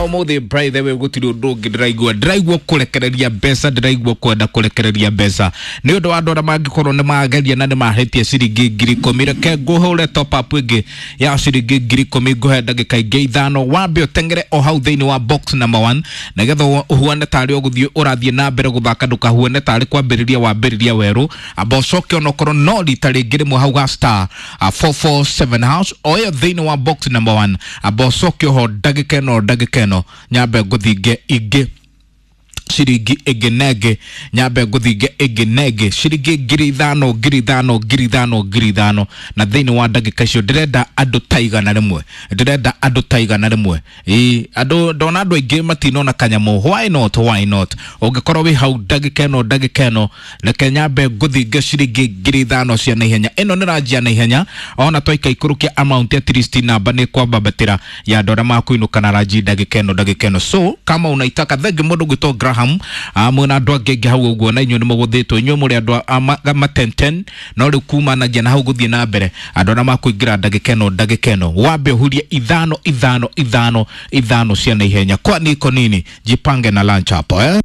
Ũmũthĩ, by the way, gũtirĩ ũndũ ũngĩ ndĩraigua, ndĩraigua kũrekereria mbeca, ndĩraigua kwenda kũrekereria mbeca nĩ ũndũ wa andũ arĩa mangĩkorwo nĩ mageria na nĩ mahĩtie ciringi 10,000. Reke ngũhũre top up ĩngĩ ya ciringi 10,000, ngũhe ndagĩka ingĩ 5, wambe ũteng'ere o hau thĩinĩ wa box number 1 nĩgetha ũhuane tarĩ ũgũthiĩ ũrathiĩ na mbere gũthaka, ndũkahuane tarĩ kwambĩrĩria wambĩrĩria werũ. Amba ũcoke onokorwo no rita rĩngĩ rĩmwe hau ga star 447 hash o ĩyo thĩinĩ wa box number 1. Amba ũcoke oho ndagĩka ĩno, ndagĩka ĩno nyambe ngũthinge ingĩ ciringi ĩngĩ na ĩngĩ, nyambe ngũthinge ĩngĩ na ĩngĩ ciringi 5,000, 5,000, 5,000, 5,000. Na thĩinĩ wa ndagĩka icio ndĩrenda andũ ta 100, ndĩrenda andũ ta 100. Ĩĩ, andũ ndona andũ aingĩ matinona kanyamũ. Why not? Why not? Ũngĩkorwo wĩ hau ndagĩka ĩno, ndagĩka ĩno reke nyambe ngũthinge ciringi 5,000 cia naihenya. Ĩno nĩ ranjia naihenya, ona twaika ikũrũkia amount, at least namba nĩ kwambambatĩra ya andũ arĩa makũinũka na ranji ndagĩka ĩno, ndagĩka ĩno. So kama unaitaka, thengi mũndũ gwĩtwo Graham, mwĩna andũ angĩ aingĩ hau ũguo, na inyuĩ nĩ mũgũthĩtwo, inyuĩ mũrĩ andũ a ma 10 10. No rĩu kumanagia na hau gũthiĩ na mbere, andũ arĩa makũingĩra ndagĩka ĩno, ndagĩka ĩno wambe ũhurie 5, 5, 5, 5 cia naihenya. Kwani iko nini? Jipange na lunch hapo, eh?